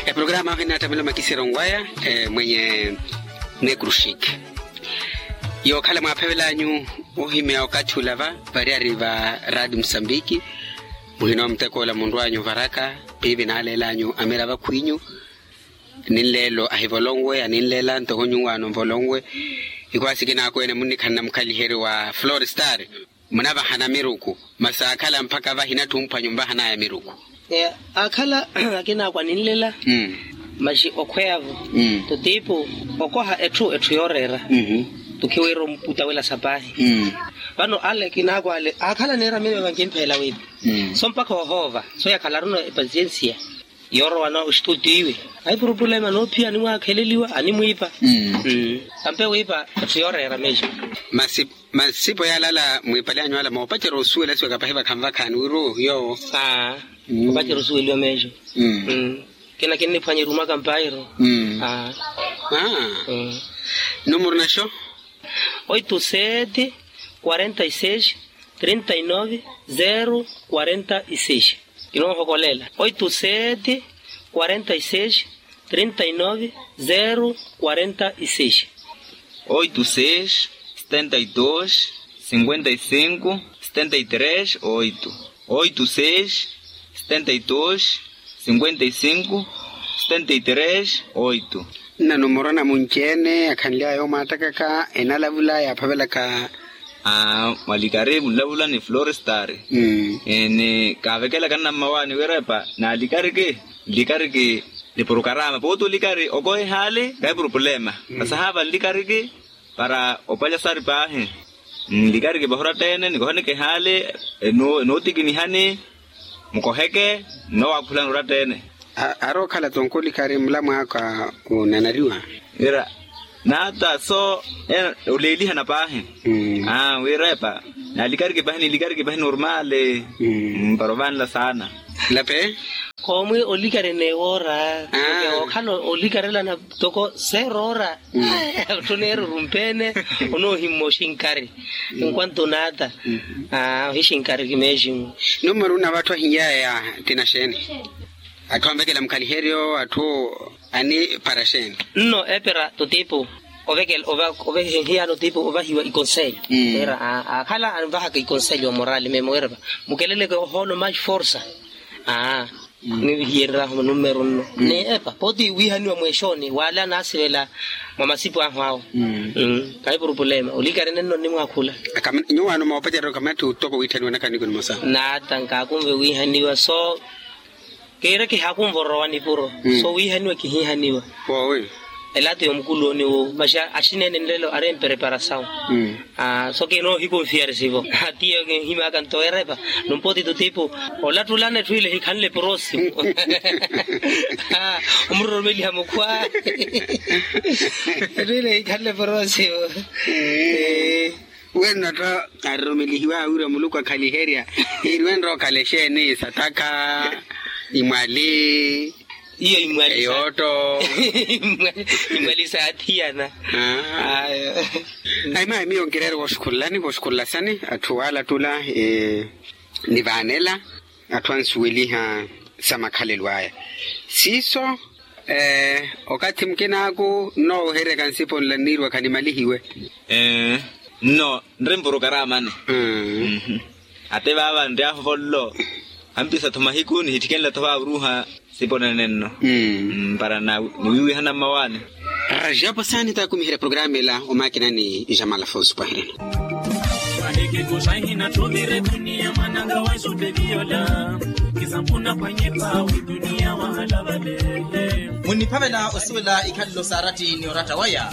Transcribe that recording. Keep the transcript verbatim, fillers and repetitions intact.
Eprograma ahu enattamela omakisiro nwaya mwenye nekrushik. Yookhala mwaaphevel'anyu ohimeya okathi olava variyari va radi musambiki. Muhina omuteko ola munrw'anyu ovaraka piipi naaleel'anyu amira vakhw'inyu. Ninleelo ahivolonwe aninleela ntoko nyuwaano nvolonwe. Ikhwaasi kinaakweene munnikhanna mukhaliheryo wa florestar. Munavahana miruku masi aakhala mpakha vahinatthi omphwanyu nvahanaya miruku. Aakhala akinaakwa ninlela. Masi okhweya-vo totiipu okoha etthu etthu yooreera. Tukhiwira omputa wela sapaahi. Vano ale akinaakwa ale aakhala neeramini vavankimpheela wiipa. So mpakha ohoova so yakhalaruno epasiensiya. Yoorowa no ostuti iwe. Ayi purupulema noophiya animwaakheleliwa animwiipa. Tampe wiipa atthu yooreera meejo. Masi masipo yaalala mwiipale anyu ala moopacerya osuwela siwaka pahi vakhanvakhaani wira ohiya owo. Aa. Moopacerya osuweliwa meejo. Kina kinniphwanyerya omwaka mpairo. Aa. Numuru naxo? Oito sete quarenta e seis trinta e nove zero quarenta e seis. Kinoohokolela oito sete quarenta e seis trinta e nove zero quarenta e seis. Oito seis setenta e dois cinquenta e cinco setenta e três oito. Oito seis setenta e dois cinquenta e cinco setenta e três oito. Nna numoro na munci-ene akhanly'aya omwaattakaka enalavula yaaphavelaka. Mwalikari munlavula ni florestari. Ni kaavekelaka nna mmawaani wira epa naalikariki nlikariki. Ni porokarama pooti olikari okoha ehaali kahi purupulema. Vasahaava nlikariki para opalya sari paahi. Nlikariki pahi oratta-ene nikohaneke ehaali enootikinihani. Mukoheke nnowaakhulani oratta-ene. Arookhala tonko olikari mulamwaaka onanariwa. Wira naata so oleelihana paahi. Wira epa naalikariki pahi nilikariki pahi normali. Para ovanla saana. Lape. Koomwi olikari neewoora. Okhala olikarelana toko seroora. Otthu neeruru mpeene onoohimma oxinkari. Nkwanto naata. Oxixinkariki meeximu. Numero na vatthu ahinyaya tina xeeni? Atthu anvekela mukhaliheryo atthu anipara xeeni? Nno epera tutipu. Ovekela ovekela hiyano tipu ovahiwa ikonselyo. Era akhala anvahaka ikonselyo morali memo erapa mukeleleke ohoolo max forsa. Aa. Nivihiyererahu numero nno ni epa poti wihaniwa mweexooni wala nasivela mwa masipu ahu awo. Kahi purupulema olikari nenno nnimwakhula. Nyuwaano moopacerya okamatthi uttoko wiithaniwa nakaniku nimosa. Naata nkaakunve wiihaniwa so kiira kihakunva orowa nipuro. So wiihaniwa kihiihaniwa. Woowi. Elato yomukuluwoni wu masi axineene nlelo ari empereparasawu. So kinoohikunfiyarisivo atiyo kinhimaka nto erepa. Numpoti tutipu olattulana etthu ile hikhanle porosimu. Omuroromeliha mukhwa etthu ile hikhanle porosimu. Wenno tto aroromelihiwa awira muluku akhaliherya. Iri wenro okhale xeeni sataka imwali. Iyo imwali eyooto. Imwali saathiyana. Ayo. Ayi mayi miyo nkireere wooxukhulelani wooxukhulela sani atthu waalattula. Nivaanela atthu ansuweliha sa makhalelo aya siiso. Okathi mukinaaku nnooweheryaka nsipo nla nniiriwa khanimalihiwe. Nno nri mpurukaraamani. Ate vaava nri ahovollo ampisa-tho mahiku nihittikenle-tho vaava oruuha. Sipo nene nno. Para niwiiwihana mmawaani. Rajapu saani taakumiherya programa ela omaakina ni jamal afonso pwahereno. Mahikikuxa ihinatthuvire duniya mwananga wa exuteliyola. Kisampuna pwanyipa wi duniya wahala vale. Munniphavela osuwela ikhalelo sa aratti ni oratta waya.